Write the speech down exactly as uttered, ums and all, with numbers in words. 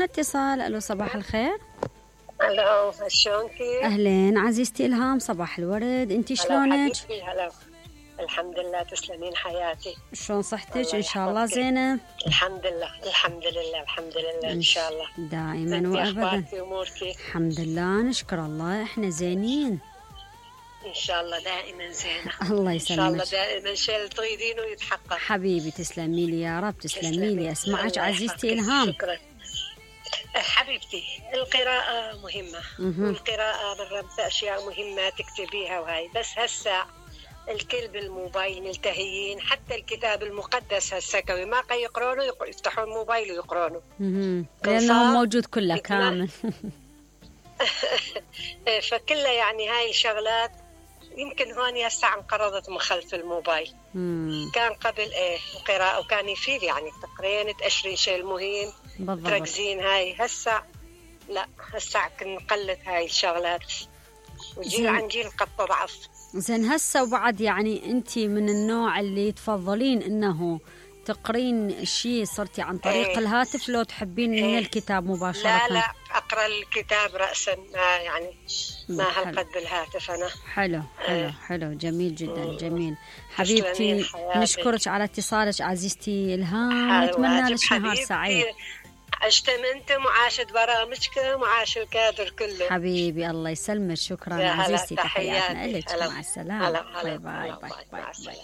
اتصال. الو صباح الخير. الو شلونكي؟ اهلين عزيزتي الهام، صباح الورد، انتي شلونك؟ هلا الحمد لله، تسلمين حياتي. شلون صحتك؟ ان شاء الله زينه. الحمد لله الحمد لله الحمد لله ان شاء الله دائما وابدا. الحمد لله نشكر الله، احنا زينين ان شاء الله، دائما زينه. الله يسلمك ان شاء الله، دائما شيء اللي تريدينه يتحقق حبيبي. تسلمي لي يا رب، تسلمي لي. اسمعك عزيزتي الهام. شكرا حبيبتي. القراءة مهمة، والقراءة مرات أشياء مهمة تكتبيها وهاي، بس هسا الكل بالموبايل ملتهيين. حتى الكتاب المقدس هسا كوي ما يقرونه، يفتحون الموبايل ويقرونه لأنه موجود كله كامل. فكله يعني هاي شغلات يمكن هون هسه انقرضت من خلف الموبايل. مم. كان قبل ايه القراءة وكان يفيد، يعني تقرين تأشرين شيء المهم بالضبط. تركزين. هاي هسه لا، هسه نقلت هاي الشغلات، وجيل عن جيل قد تضعف. زين هسه وبعد، يعني انتي من النوع اللي تفضلين انه تقرين الشيء صرتي عن طريق ايه. الهاتف لو تحبين ايه. من الكتاب مباشرة؟ لا لا، اقرا الكتاب رأسا، ما يعني ما هالقد بالهاتف انا. حلو حلو ايه. حلو جميل جدا جميل حبيبتي. نشكرك على اتصالك عزيزتي الهام، نتمنى لك نهار سعيد. عشتم انتم وعاشت برامجكم وعاش الكادر كله حبيبي. الله يسلمك، شكرا عزيزتي، تحياتنا لك. مع السلامة. باي باي باي باي, باي.